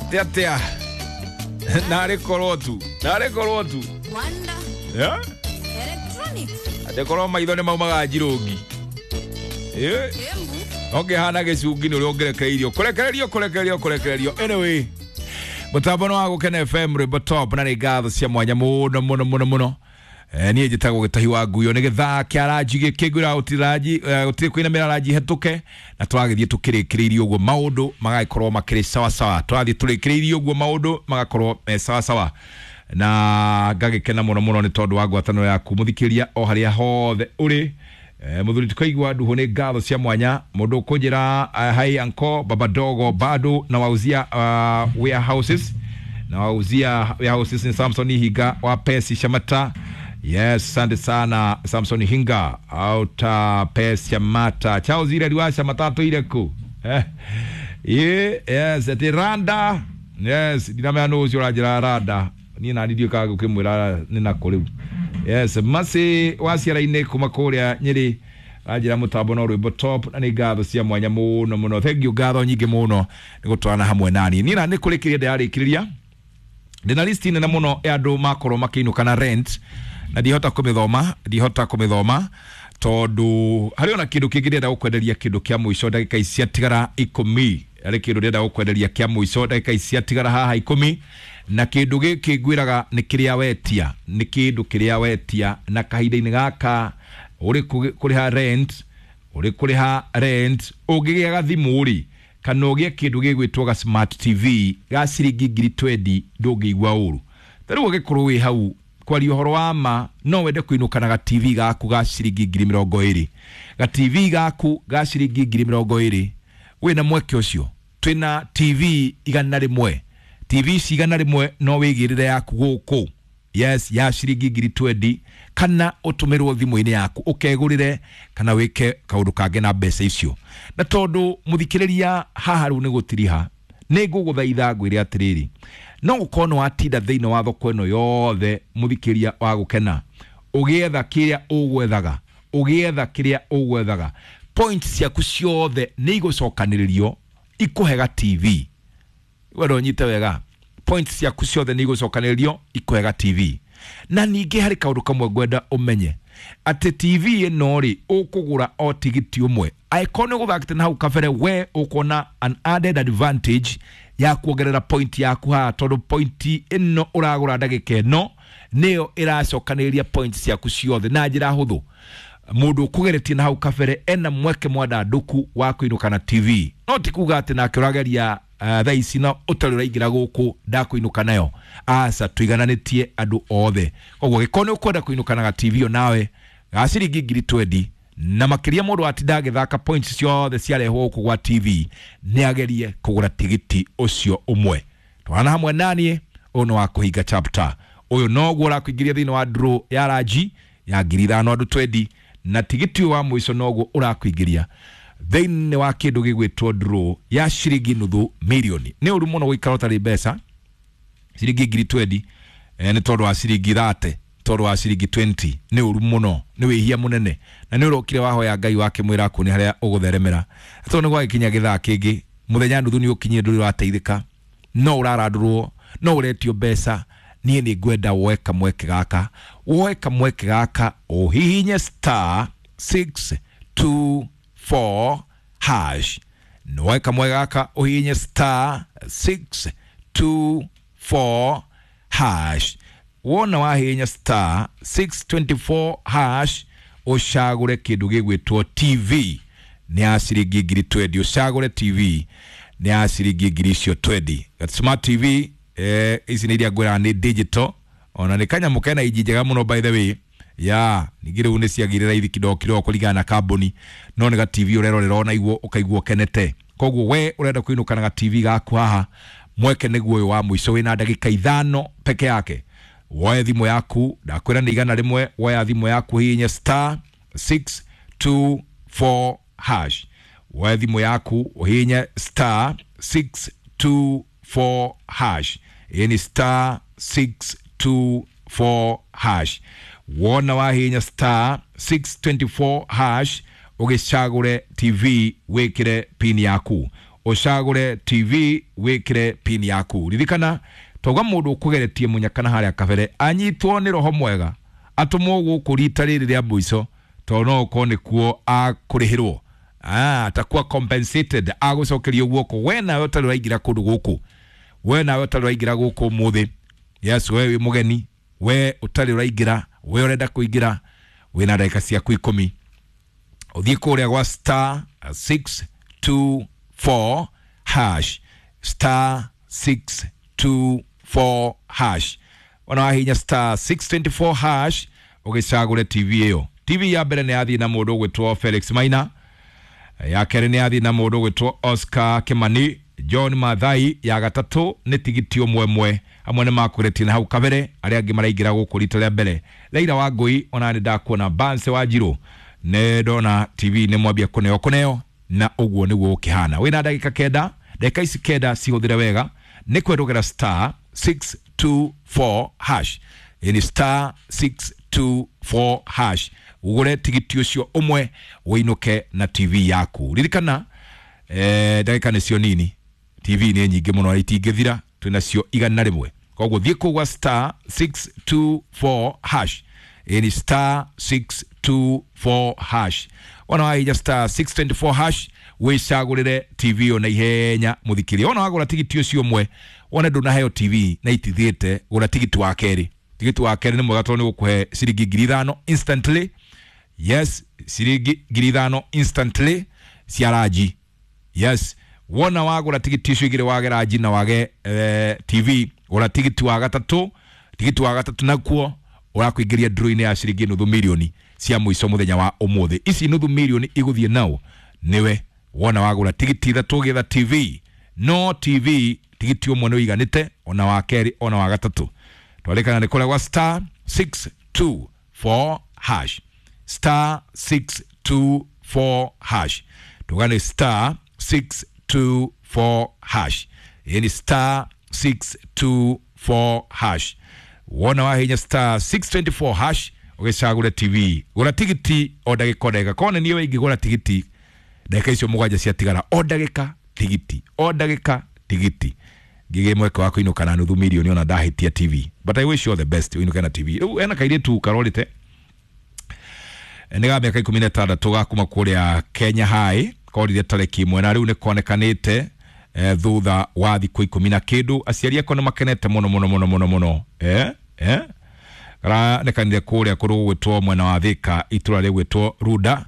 Atia narĩ korwo tu, narĩ korwo tu. Wanda Yeah? Electronics. Atĩ korwo maitho nĩ maumaga njirũngi. Eh? Embu. Ũngĩhana gĩcungi nĩ ũrĩa ũngĩrekereirio kũrekererio kũrekererio kũrekererio. Anyway, mũtambo nĩ wa Gũkena FM, rwĩmbo top, na nĩ ngatho cia mwanya mũno mũno mũno mũno. Niĩ njĩtagwo Gĩtahi wa Nguyo, nĩ gĩthaa kĩa ranji gĩkĩ ngwĩra gũtirĩ kũinamĩra ranji hetũke, na tũragĩthiĩ tũkĩrĩkĩrĩirie ũguo maũndũ magagĩkorwo makĩrĩ sawasawa, tũrathiĩ tũrĩkĩrĩirie ũguo maũndũ magakorwo me sawasawa, na ngagĩkena mũno mũno nĩ tondũ wa ngwatanĩro yaku mũthikĩria o harĩa hothe ũrĩ. Mũthuri tukaigua nduhu, nĩ ngatho cia mwanya. Mũndũ ũkũnjĩra, hi anko baba dogo, bado na wauzia warehouses, na wauzia warehouses, ni Samson Hinga wa Pesi Shamata. Yes, asante sana Samson Hinga auta Pesi Shamata. Chao zile riwasha matatu ile ku yes, ati randa. Yes, ndinamenya nũ ũcio ũranjĩra randa, niĩ nani ndiũĩ kana ngũkĩmwĩra nĩ nakũ rĩu. Yes, masi wa ciara-inĩ kuma kũrĩa Nyĩrĩ anjĩra mũtambo no rwĩmbo top, na nĩ ngatho cia mwanya mũno mũno. Thank you, ngatho nyingĩ mũno nĩ gũtwarana hamwe nani. Niĩ na nĩ kũrĩkĩria ndĩrarĩkĩrĩria, ndĩna list nene mũno ya andũ makorwo makĩinũka na rent, na ndihota kũmĩthoma, ndihota kũmĩthoma tondũ harĩ ona kĩndũ kĩngĩ ndĩrenda gũkwenderia, kĩndũ kĩa mũico ndagĩka ici ciatigara 10. Harĩ kĩndũ ndĩrenda gũkwenderia kĩa mũico ndagĩka ici ciatigara haha 10, na kĩndũ gĩkĩ ngwĩraga nĩ kĩrĩa wetia, nĩ kĩndũ kĩrĩa wetia, na kahinda-inĩ gaka ũrĩ kũrĩha rent, ũrĩ kũrĩha rent, ũngĩgĩa gathimũ rĩ, kana ũgĩe kĩndũ gĩgwĩtwo ga smart TV ga ciringi 20,000, ndũngĩigua ũru. Ta rĩu ũgĩkorwo wĩ hau kwaria ũhoro wa ma, no wende kũinũka na ga TV gaku ga ciringi 20,000, ga TV gaku ga ciringi 20,000. Wĩna mweke ũcio, twĩna TV 100, TV ici 100, no wĩigĩrĩre yaku gũkũ, yes, ya ciringi 20,000, kana ũtũmĩrwo thimũ-inĩ yaku ũkegũrĩre, kana wĩke kaũndũ kangĩ na mbeca icio. Na tondũ mũthikĩrĩria haha rĩu nĩ gũtiriha, nĩ ngũgũthaitha ngwĩre atĩrĩrĩ, no gũkorwo nĩ watinda thĩinĩ wa thoko ĩno yothe, mũthikĩria wa Gũkena, ũgĩetha kĩrĩa ũgwethaga, ũgĩetha kĩrĩa ũgwethaga, points ciaku ciothe nĩ igũcokanĩrĩrio ikũhe ga TV. Wendo nyite wega, points ciaku ciothe nĩ igũcokanĩrĩrio ikũhe ga TV. Na ningĩ harĩ kaũndũ kamwe ngwenda ũmenye, atĩ TV ĩno rĩ, ũkũgũra o tigiti ũmwe. Angĩkorwo nĩ ũgũthakĩte na hau kabere, we ũkuona an added advantage ya kuongerera point yaku haha, tondũ point ĩno ũragũra ndagĩka ĩno nĩyo ĩracokanĩrĩria points ciaku ciothe na njĩra hũthũ. Mũndũ ũkũgeretie na hau kabere ena mweke mwandandũku wa kũinũka na TV, no ti kuga atĩ nake ũrageria thaa ici na ũtarĩ ũraingĩra gũkũ ndakũinũka nayo. Aca, tũigananĩtie andũ othe. Koguo gĩkorwo nĩ ũkwenda kũinũka na ga TV o nawe ga ciringi 20,000 na makĩria, mũndũ atinda agĩthaka points ciothe ciarehwo gũkũ gwa TV, nĩ agerie kũgũra tigiti ũcio ũmwe. Twana hamwe naniĩ, ũyũ nĩ wa kũhinga chapter, ũyũ noguo ũrakũingĩria thĩinĩ wa draw ya ranji ya 5,000 andũ 20, na tigiti ũyũ wa mũico noguo ũrakũingĩria thĩinĩ wa kĩndũ gĩgwĩtwo draw ya ciringi 500,000. Nĩ ũru mũno gũikara ũtarĩ mbeca ciringi 20,000, nĩ tondũ wa ciringi 30, tondũ wa ciringi 20. Nĩ ũru mũno, nĩ wĩhia mũnene, na nĩ ũrokire wahoya Ngai wakĩmwĩra akuonie harĩa ũgũtheremera, tondũ nĩ gwagĩkinya gĩthaa kĩngĩ mũthenya nuthu nĩ ũkinyire, ndũrĩ ũrateithĩka, no ũrarandũrwo, no ũretio mbeca. Niĩ nĩ ngwenda woe kamweke gaka, woe kamweke gaka, ũhihinye star 624 hash. Woe kamweke gaka, ũhihinye star 624 hash. Wona wahihinya star 624 hash, ũcagũre kĩndũ gĩgwĩtwo TV nĩ ya ciringi 20,000, ũcagũre TV nĩ ya ciringi icio 20, smart TV. Ici nĩ iria ngwĩraga nĩ digital, ona nĩ kanyamũ kena inji njega mũno, by the way. Ya ningĩ rĩu nĩ ciagĩrĩra raithi kidogo kidogo kũringana na kambuni, no nĩ ga TV ũrerorera ona iguo ũkaigua ũkenete. Koguo we ũrenda kũinũka na ga TV gaku haha, mweke nĩguo ũyũ wa mũico, wĩna ndagĩka 5 peke yake. Woe thimũ yaku, ndakwĩra nĩ 100, woya thimũ yaku, hihinya star 624 hash. Woe thimũ yaku, ũhihinye star 624 hash, ĩĩ ni star 624 hash. Wona wahihinya star 624 hash, ũgĩcagũre TV, wĩkĩre pin yaku. Ũcagũre TV wĩkĩre pin yaku. Ririkana twauga mũndũ ũkũgeretie mũnyaka na harĩa kabere anyitwo nĩ roho mwega atũmwo gũkũ rita rĩrĩ rĩa mũico, tondũ no ũkorwo nĩkuo akũrĩhĩrwo, atakuwa compensated, agũcokerio guoko. We nawe ũtarĩ ũraingĩra kũndũ gũkũ, we nawe ũtarĩ ũraingĩra gũkũ ũmũthĩ, yes, we wĩ mũgeni, we ũtarĩ ũraingĩra, we ũrenda kũingĩra, wĩna ndagĩka ciaku 10 ũthiĩ kũrĩa gwa star 624 hash, star 624 hash. Ona wahinya star 624 hash ũgĩcagũre TV ĩyo. TV ya mbere nĩ yathiĩ na mũndũ ũgwĩtwo Felix Maina, ya kerĩ nĩ yathiĩ na mũndũ ũgwĩtwo Oscar Kimani, John Mathai. Ya gatatũ nĩ tigiti ũmwe amwe nĩ makũretie na hau kabere, arĩa angĩ maraingĩra gũkũ rita rĩa mbere. Leila wa Ngũi, ona nĩ ndakuona. Bance wa Njirũ, nĩ ndona TV nĩ mwambia kũneo kũneo, na ũguo nĩguo ũkĩhana. Wĩna ndagĩka 9, ndagĩka ici 9 cihũthĩre wega, nĩ kwendũgera star 624 hash, ni star 624 hash, ugure tigiti ũcio ũmwe ũinũke na TV yaku. Ririkana ndagĩka nĩcio nini, TV nĩ nyingĩ mũno na itingĩthira, twĩnacio 101. Koguo thiĩ kũu gwa star 624 hash, ni star 624 hash. Ona wahinya star 624 hash wĩcagũrĩre TV ĩyo na ihenya mũthikĩria. Ona wagũra tigiti ũcio ũmwe wone ndũnaheo TV na itithiĩte, gũra tigiti wa kerĩ. Tigiti wa kerĩ nĩ mwega tondũ nĩ gũkũhe ciringi 5,000 instantly. Yes, ciringi 5,000 instantly cia ranji. Yes, wona wagũra tigiti icio igĩrĩ wage ranji na wage TV, gũra tigiti wa gatatũ. Tigiti wa gatatũ nakuo ũrakũingĩria draw-inĩ ya ciringi 500,000 cia mũico mũthenya wa ũmũthĩ. Ici 500,000 igũthiĩ nao nĩwe wona wagũra tigiti ithatũ ũgĩetha TV. No TV tigiti ũmwe nĩ ũiganĩte, ona wa kerĩ ona wa gatatũ. Twarĩkana nĩ kũrĩa gwa star 624 hash, star 624 hash. Tugane star 624 hash, yani star 624 hash. Wona wahinya star 624 hash ũgĩcagũre TV, gũra tigiti o ndagĩka o ndagĩka. Kona niĩ ingĩgũra tigiti ndagĩka icio 7 ciatigara, o ndagĩka tigiti, o ndagĩka tigiti, ngĩgĩe mweke wa kũinũka na 500,000 ona ndahĩtia TV. But I wish you all the best ũinũke na TV. Rĩu ena kairĩtu karorĩte nĩ ga mĩaka 16 ga kuma kũrĩa Kenya High, korire tarĩki 1 na rĩu nĩ konekanĩte thutha wa thikũ 10 na kĩndũ. Aciari ako nĩ makenete mũno mũno mũno mũno mũno. Karanekanire kũrĩa kũndũ gũgwĩtwo mwena wa Thika, itũra rĩgwĩtwo Runda.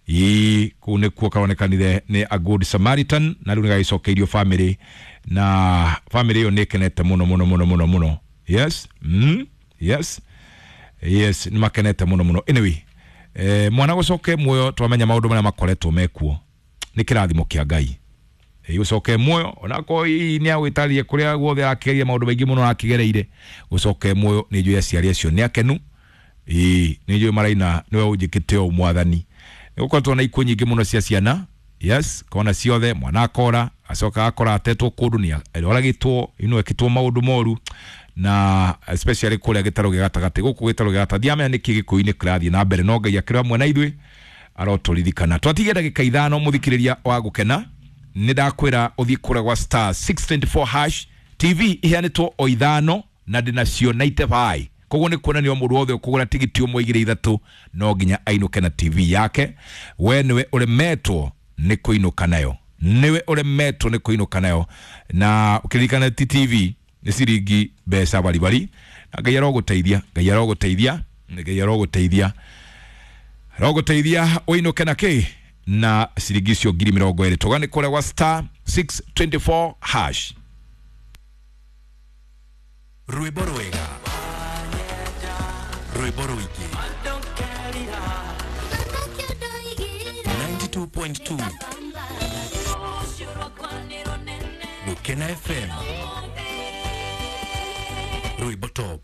Ii kũu nĩkuo karonekanire nĩ a good Samaritan, na rĩu nĩ gagĩcokeirio family, na family ĩyo nĩ ĩkenete mũno mũno mũno mũno mũno. Yes, yes, yes, nĩ makenete mũno mũno. Anyway, mwana gũcoke muoyo, twamenya maũndũ marĩa makoretwo mekuo nĩ kĩrathimo kĩa Ngai. Gũcoke muoyo onakorwo hihi nĩ agwĩtarie kũrĩa guothe arakĩgeria maũndũ maingĩ mũno arakĩgereire, gũcoke muoyo nĩ njũĩ aciari acio nĩ akenu. Nĩ njũĩ maraina nĩwe ũnjĩkĩte ũũ mwathani. Nĩ gũkoretwo na ikuũ nyingĩ mũno cia ciana. Yes, kona ciothe mwana akora acoka akora atetwo kũndũ nĩ oragĩtwo, ino ekĩtwo maũndũ moru, na especially kũrĩa gĩtarũ gĩa gatagatĩ. Gũkũ gĩtarũ gĩa gatagatĩ ndiamenya nĩkĩ gĩkũyũ-inĩ kĩrathiĩ na mbere, no Ngai akĩrĩ hamwe na ithuĩ arotũririkana. Twatigia ndagĩka 5 mũthikĩrĩria wa gũkena, nĩ ndakwĩra ũthiĩ kũrĩa gwa star 624 hash. TV iheanĩtwo o 5 na ndĩnacio 95. Koguo nĩ kuonania o mũndũ wothe ũkũgũra tigiti ũmwe igĩrĩ ithatũ no nginya ainũke na TV yake. We nĩwe ũremetwo nĩ kũinũka nayo, nĩwe ũremetwo nĩ kũinũka nayo. Na ũkĩririkana ti TV nĩ ciringi mbeca baribari, na Ngai arogũteithia, Ngai arogũteithia, Ngai arogũteithia, arogũteithia ũinũke na kĩ na ciringi icio 20,000. Tũgane kũrĩa gwa star 624 hash. Rwĩmbo rwega, rwĩmbo rũingĩ, 92.2 Gũkena FM, rwĩmbo top.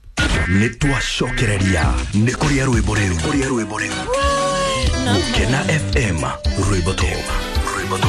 Nĩ twacokereria nĩ kũrĩa rwĩmbo rĩu, kũrĩa rwĩmbo rĩu. Gũkena FM, rwĩmbo top.